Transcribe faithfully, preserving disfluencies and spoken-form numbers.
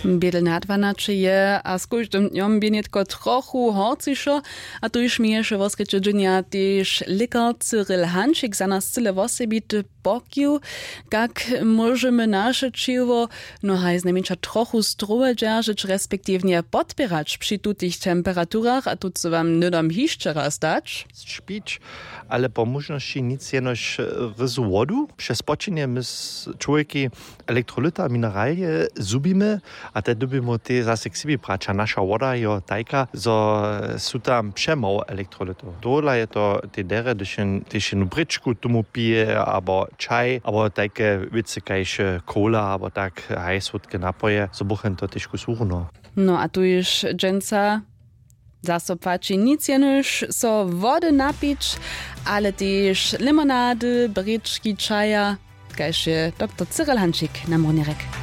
Bědl na dwanaće je a z kóždym dnjom bě nětko trochu horcišo. A tuž měješe wosrjedźe dźenja tež lěkar Cyril Hančik za nas cyle wosebity pokiw. Kak móžemy naše ćěło no haj znajmjeńša trochu strowe dźeržeć respektiwnje podpěrać při tutych temperaturach a tucy wam hnydom hišće raz dać? Špić, ale po móžnosći nic jenož ryzu wodu přez spočenje my z čłowjeki elektrolyta mineralije zhubimy. A te dyrbimy te zase k sebi brać a naša woda jo tajka zo su tam přemało elektrolytow tohodla je to te derje hdyž jen tež jednu brěčku tomu pije abo čaj abo tajke wěcy kaž kola abo tak haj słódke napoje zo buchen to težku słuchno. No a tuž dźensa zaso płaći nic jenož so wody napić, ale tež limonady brěčki čaja, kaž je doktor Cyril Hančik na murnjerek.